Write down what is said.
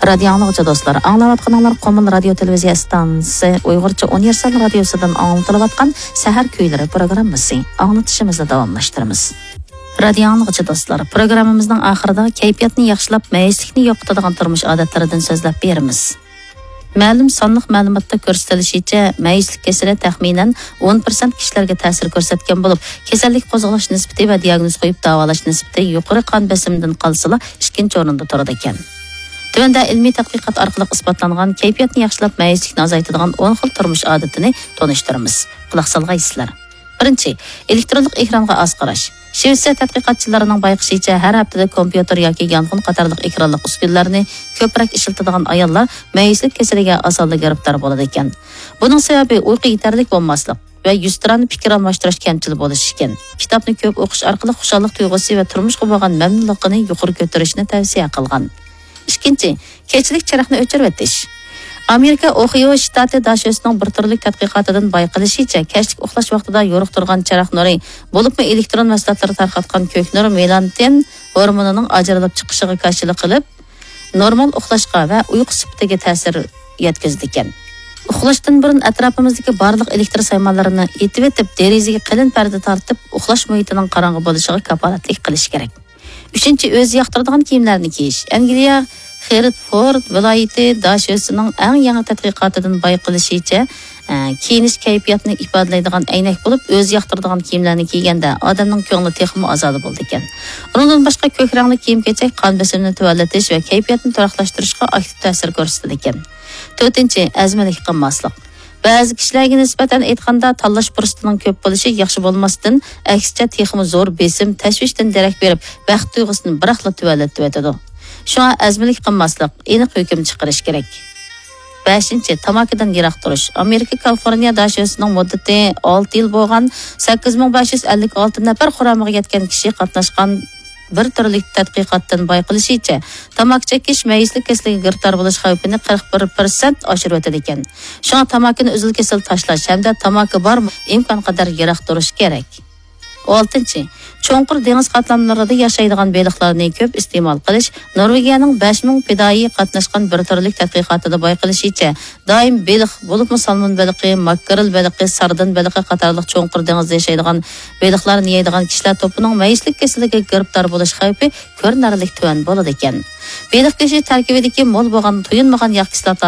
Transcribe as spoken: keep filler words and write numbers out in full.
رادىيو ئاڭلىغۇچى دوستلار، ئاڭلاۋاتقىنىڭلار قومۇل رادىيو تېلېۋىزىيە ئىستانسىسى ئۇيغۇرچە ئۇنىۋېرسال رادىيوسىدىن ئاڭلىتىلىۋاتقان سەھەر كۈيلىرى پروگراممىسى. ئاڭلىتىشىمىزنى داۋاملاشتۇرىمىز. رادىيو ئاڭلىغۇچى دوستلار، پروگراممىمىزنىڭ ئاخىرىدا كەيپىياتنى ياخشىلاپ، مەيۈسلۈكنى يوقىتىدىغان تۇرمۇش ئادەتلىرىدىن سۆزلەپ بېرىمىز. مەلۇم سانلىق مەلۇماتتا كۆرسىتىلىشىچە، مەيۈسلۈك كېسىلى تەخمىنەن ئون پىرسەنت كىشىلەرگە تەسىر كۆرسەتكەن بولۇپ، كېسەللىك قوزغىلىش نىسبىتى ۋە دىياگنوز قويۇپ داۋالاش نىسبىتى يۇقىرى قان بېسىمىدىن قالسىلا، ئىككىنچى ئورۇندا تۇرىدىكەن. تۆۋەندە ئىلمىي تەتقىقات ئارقىلىق ئىسپاتلانغان كەيپىياتنى ياخشىلاپ، مەيۈسلۈكنى ئازايتىدىغان ئون خىل تۇرمۇش ئادىتىنى تونۇشتۇرىمىز. قۇلاق سالغايسىلەر. بىرىنچى، ئېلېكترونلۇق ئېكرانغا ئاز قاراش. شىۋېتسىيە تەتقىقاتچىلىرىنىڭ بايقىشىچە، ھەر ھەپتىدە كومپيۇتېر ياكى يانفون قاتارلىق ئېكرانلىق ئۈسكۈنىلەرنى كۆپرەك ئىشلىتىدىغان ئاياللار مەيۈسلۈك كېسىلىگە ئاسانلا گىرىپتار بولىدىكەن. بۇنىڭ سەۋەبى ئۇيقۇ يېتەرلىك بولماسلىق ۋە يۈزتۇرانە پىكىر ئالماشتۇرۇش كەمچىل بولۇشى ئىكەن. كىتابنى كۆپ ئوقۇش ئارقىلىق خۇشاللىق تۇيغۇسى ۋە تۇرمۇشقا بولغان مەمنۇنلۇقىنى يۇقىرى كۆتۈرۈشنى تەۋسىيە قىلغان. ئىككىنچى، كەچلىك چىراغنى ئۆچۈرۈۋېتىش. ئامېرىكا ئوھىيو شتاتى داشۆسىنىڭ بىر تۈرلۈك تەتقىقاتىدىن بايقىلىشىچە، كەچلىك ئۇخلاش ۋاقتىدا يورۇق تۇرغان چىراغ نۇرى، بولۇپمۇ ئېلېكترون مەھسۇلاتلىرى تارقاتقان كۆك نۇر مېلاتونىن ھورمونىنىڭ ئاجرىلىپ چىقىشىغا كاشىلىق قىلىپ، نورمال ئۇخلاشقا ۋە ئۇيقۇ سۈپىتىگە تەسىر يەتكۈزىدىكەن. ئۇخلاشتىن بۇرۇن ئەتراپىمىزدىكى بارلىق ئېلېكتر سايمانلىرىنى ئېتىۋېتىپ، دېرىزىگە قېلىن پەردە تارتىپ، ئۇخلاش مۇھىتىنىڭ قاراڭغۇ بولۇشىغا كاپالەتلىك قىلىش كېرەك. ئۈچىنچى، ئۆزى ياقتۇرىدىغان كىيىملەرنى كىيىش. ئەنگلىيە خېرتفورد ۋىلايىتى داشۆسىنىڭ ئەڭ يېڭى تەتقىقاتىدىن بايقىلىشىچە، ئە، كىيىنىش كەيپىياتنى ئىپادىلەيدىغان ئەينەك بولۇپ، ئۆزى ياقتۇرىدىغان كىيىملەرنى كىيگەندە ئادەمنىڭ كۆڭلى تېخىمۇ ئازادە بولىدىكەن. ئۇنىڭدىن باشقا، كۆك رەڭلىك كىيىم-كېچەك قان بېسىمىنى تۆۋەنلىتىش ۋە كەيپىياتنى تۇراقلاشتۇرۇشقا ئاكتىپ تەسىر كۆرسىتىدىكەن. تۆتىنچى، ئەزمىلىك قىلماسلىق. بەزى كىشىلەرگە نىسبەتەن ئېيتقاندا، تاللاش پۇرسىتىنىڭ كۆپ بولۇشى ياخشى بولماستىن، ئەكسىچە تېخىمۇ زور بېسىم، تەشۋىشتىن دېرەك بېرىپ، بەخت تۇيغۇسىنى بىراقلا تۆۋەنلىتىۋېتىدۇ. شۇڭا ئەزمىلىك قىلماسلىق، ئېنىق ھۆكۈم چىقىرىش كېرەك. بەشىنچى، تاماكىدىن يىراق تۇرۇش. ئامېرىكا كالىفورنىيە داشۆسىنىڭ مۇددىتى ئالتە يىل بولغان سەككىز مىڭ بەش يۈز ئەللىك ئالتە نەپەر قۇرامىغا يەتكەن كىشى قاتناشقان بىر تۈرلۈك تەتقىقاتتىن بايقىلىشىچە، تاماكا چېكىش مەيۈسلۈك كېسىلىگە گىرىپتار بولۇش خەۋپىنى قىرىق بىر پىرسەنت ئاشۇرۇۋېتىدىكەن. شۇڭا تاماكىنى ئۈزۈل-كېسىل تاشلاش ھەمدە تاماكا بارمۇ ئىمكانقەدەر يىراق تۇرۇش كېرەك. ئالتىنچى، چوڭقۇر دېڭىز قاتلاملىرىدا ياشايدىغان بېلىقلارنى كۆپ ئىستېمال قىلىش. نورۋېگىيەنىڭ بەش مىڭ پىدائىيى قاتناشقان بىر تۈرلۈك تەتقىقاتىدا بايقىلىشىچە، دائىم بېلىق، بولۇپمۇ سالمون بېلىقى، ماكرېل بېلىقى، ساردىن بېلىقى قاتارلىق چوڭقۇر دېڭىزدا ياشايدىغان بېلىقلارنى يەيدىغان كىشىلەر توپىنىڭ مەيۈسلۈك كېسىلىگە گىرىپتار بولۇش خەۋپى كۆرۈنەرلىك تۆۋەن بولىدىكەن. بېلىق گۆشى تەركىبىدىكى مول بولغان تويۇنمىغان ياغ كىسلاتاسى